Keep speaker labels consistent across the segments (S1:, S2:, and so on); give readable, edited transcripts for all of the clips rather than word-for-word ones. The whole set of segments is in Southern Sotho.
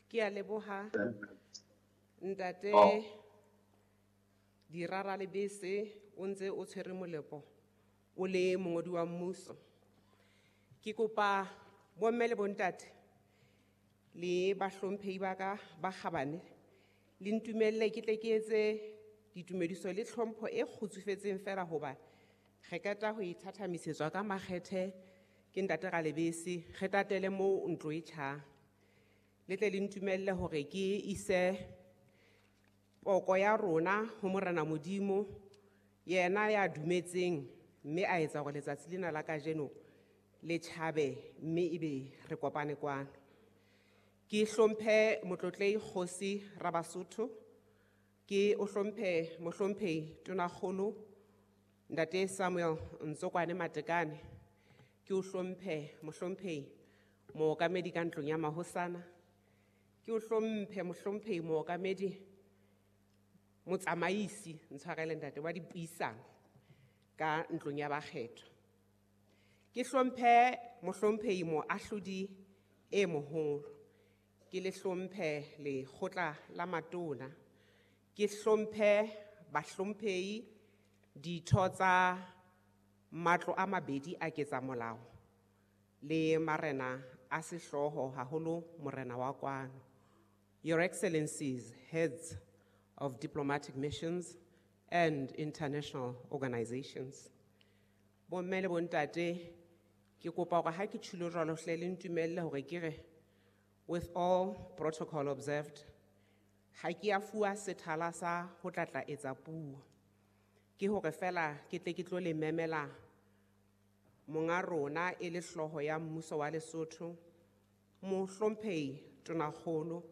S1: Ke a leboha ntate Dirara Lebese o ntse o tshwere molepo o le mongodi wa mmuso. Ke kopa bomme le bontate le bahlomphehi ba ka ba kgabane le ntumelle ke tle ke etse ditumediso le tlhompho e kgutsufetseng fela hoba re qeta ho ithathamisetswa ka makgethe ke ntate Ralebese re tatele moo ntlo e tjhang. Le tle le ntumelle hore ke ise poko ya rona ho Morena Modimo yena ya dumetseng mme a etsa hore letsatsi lena la kajeno le tjhabe mme ebe re kopane kwano. Ke hlomphe Motlotlei Kgosi Rabasotho, ke o hlomphe Mohlomphehi Tonakgolo Ntate Samuel Ntsokwane Matekane, ke o hlomphe Mohlomphehi Mookamedi ka ntlong ya mahosana, ke o hlomphe Mohlomphehi Mookamedi Motsamaisi ntshwarele ntate wa dipuisano ka ntlong ya bakgethwa. Ke hlomphe Mohlomphehi Moahlodi e moholo, ke le hlomphe lekgotla la matona, ke hlomphe bahlomphehi ditho tsa matlo a mabedi a ketsamolao le marena a sehlooho haholo morena wa kwano. Your Excellencies, heads of diplomatic missions and international organizations. Bomme le bontate, ke kopa hore ha ke tjhilo jwalo hle le ntumelle hore ke re, with all protocol observed, ha ke a fuwa sethala sa ho tla tla etsa puo. Ke hore fela ke tle ke tlo le memela monga rona e le hlooho ya mmuso wa Lesotho, Mohlomphehi Tonakgolo,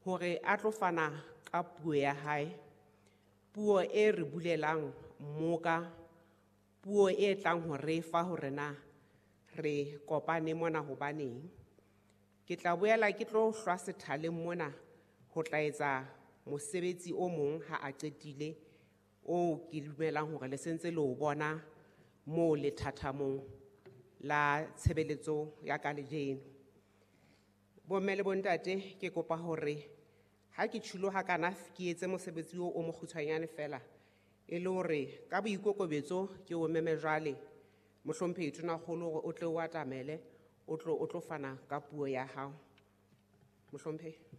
S1: hore a tlo fana ka puo ya hae, puo e re bulelang mmoka, puo e tlang ho re fa hore na re kopane mona hobaneng. Ke tla boela ke tlo hlwa sethaleng mona ho tla etsa mosebetsi o mong ha a qetile, o ke dumelang hore le sentse le o bona moo lethathamong la tshebeletso ya ka lejeno. Bomme le bontate, ke kopa hore ha ke tjhilo hakana ke etse mosebetsi o mokgutshwanyane fela, e le hore ka boikokobetso ke o meme jwale Mohlomphehi Tonakgolo hore o tle o atamele, o tlo fana ka puo ya hao. Mohlomphehi.